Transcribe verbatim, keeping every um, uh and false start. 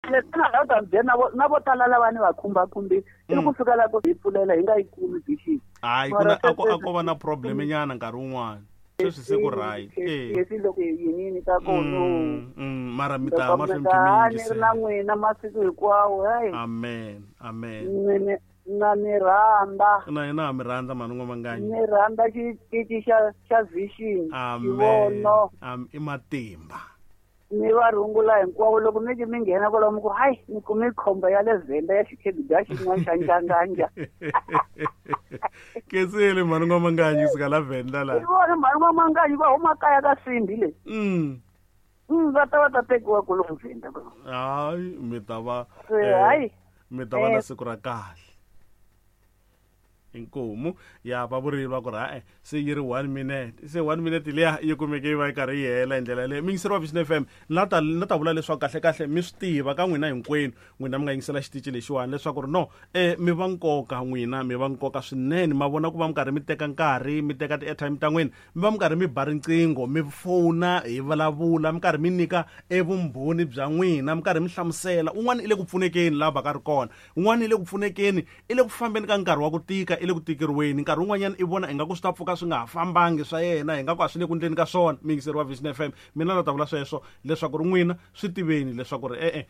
Leswi nga ta mi byela na vo na vo tala lava ni va khumbakhumbile i ku fika la ku hi pfulela hi nga yi kumi vision. Hayi, ku na a ko a ko va na problem nyana nkarhi wun'wana, sweswi se ku right. Eh, leswi loko hi yinini ta kona. Mm, mm, mara mi ta ya mahlweni mi kha mi ni ri yingisela. Na n'wina masiku hinkwawo, hayi. Amen, amen. Ni- na ni rhandza. Na hina ha mi rhandza, mhani N'wamanganyi. Ni rhandza xitici xa xa Vision. Amen. Xivono. Am- i matimba. Ni va rungula hinkwavo loko mi ki mi nghena kwalomu ku hayi, ni kume khomba ya le Vhenda ya xikhegida xin'wana xa njanganja. Ketsile, mhani N'wamanganyi, kusuka la Venda la. I vona mhani N'wamanganyi va huma kaya ka simbi leyi. mm. Mm, va ta va ta tekiwa kulomu Vhenda. Hayi, mi ta va Se, eh, hayi. mi ta va na Eh. siku ra kahle. Inkomu ya va vurile va ku ri ha-e, se yi ri one minute, se one minute liya yi kumeke yi va yi karhi yi hela hi ndlela yaleyo. Mi yingiseri wa Vision F M, na ta na ta vula leswaku kahle kahle mi swi tiva ka n'wina hinkwenu, n'wina mi nga yingisela xitici lexiwani, leswaku ri no um mi va nkoka, n'wina mi va nkoka swinene. Ma vona ku va mi karhi mi teka nkarhi, mi teka ti-airtime ta n'wina, mi va mi karhi mi ba riqingho, mi fona, hi vulavula, mi karhi mi nyika evumbhoni bya n'wina, mi karhi mi hlamusela. Un'wana i le ku pfunekeni laha va ka ri kona, un'wana i le ku pfunekeni, i le ku fambeni ka nkarhi wa ku tika, i le ku tikeriweni. Nkarhi wun'wanyana i vona ingaku swi ta pfuka swi nga ha fambangi swa yena, ingaku a swi le ku ndleni ka swona. Miyingiseri wa Vision F M, mina na ta vula sweswo leswaku ri n'wina swi tiveni leswaku ri e-e.